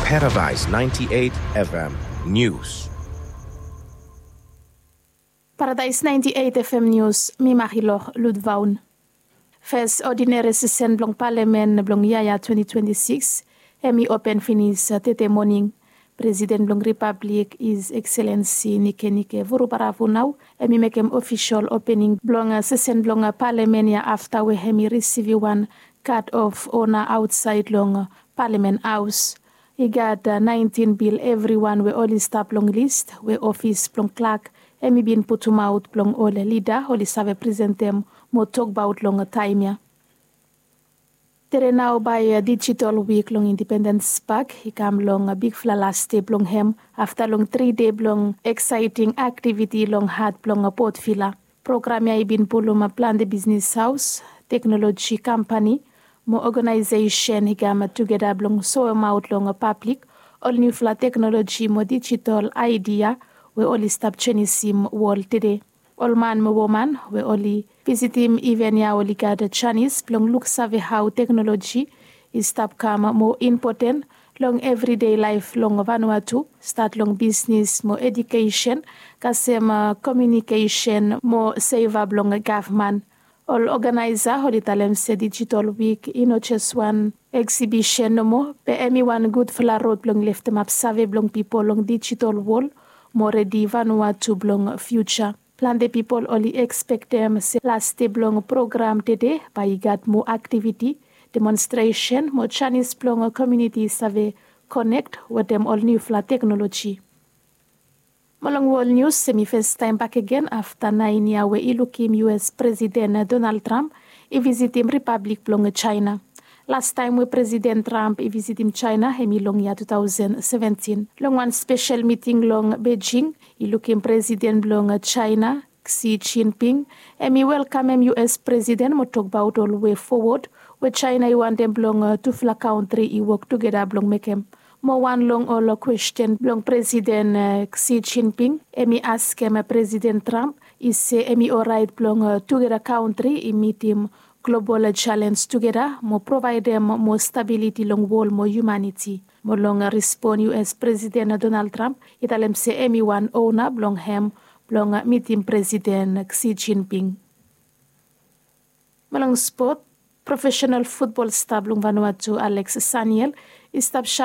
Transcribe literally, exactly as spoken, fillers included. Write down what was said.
Paradise ninety-eight F M News. Paradise ninety-eight F M News, mi Marilor Ludvaun. Fes odinere sesen blong palamen blong yia ya twenty twenty-six, hemi open finis tete moning. Presiden blong ripablik, His Excellency Nikenike Vurubara Vunau, hemi mekem ofisol opening blong sesen blong palamen ya afta we hemi risivim wan guard of honour aotsaed long Palamen Haos. I gat naentin bil evriwan we oli stap long lis we ofis blong klak hemi bin putumaot blong ol lida oli save presentem mo tokbaot long taem ya. Tede nao bae dijitol wik long Independens Pak i kam long bigfala las dei blong hem afta long tri dei blong eksaeting aktiviti long hat blong Port Vila. Program ya i bin pulum plante bisnis haos, teknoloji kampani mo oganaesesen i kam tugeta blong soemaot long pablik ol niufala teknoloji mo dijitol aedia we oli stap jenisim wol tede. Ol man mo woman we oli visitim iven ya oli gat janis blong luksave hao teknoloji i stap kam moa impoten long evridei laef long Vanuatu, stat long bisnis mo ejukesen, kasem komiunikesen mo seva blong gavman. Ol oganaesa oli talem se dijitol wik i no jes wan eksibisen nomo, be hemi wan gudfala rod blong leftemap save blong pipol long dijitol wol mo redi Vanuatu blong fiuja. Plante pipol oli ekspektem se las dei blong program tede bae i gat moa aktiviti, demonstresen mo janis blong komiuniti save konek wetem ol niufala teknoloji. Mo long wol nius, hemi fastaem bakegen afta naen yia we i lukim U S Presiden Donald Trump i visitim ripablik blong Jaena. Lastaem we Presiden Trump i visitim Jaena hemi long yia two thousand seventeen. Long wan spesel miting long Beijing, i lukim Presiden blong Jaena, Xi Jinping, hemi welkamem U S Presiden mo tokbaot ol wei fowod we Jaena i wantem blong tufala kantri i wok tugeta blong mekem. Mo wan long ol kwesten blong Presiden Xi Jinping, hemi askem Presiden Trump i se hemi oraet blong tugeta kantri i mitim global jalens tugeta mo provaedem moa stabiliti long wol mo hiumaniti. Mo long respon, U S Presiden Donald Trump i talem se hemi wan ona blong hem blong mitim Presiden Xi Jinping. Mo long spot, profesenal futbol sta blong Vanuatu Alex Saniel i stap saen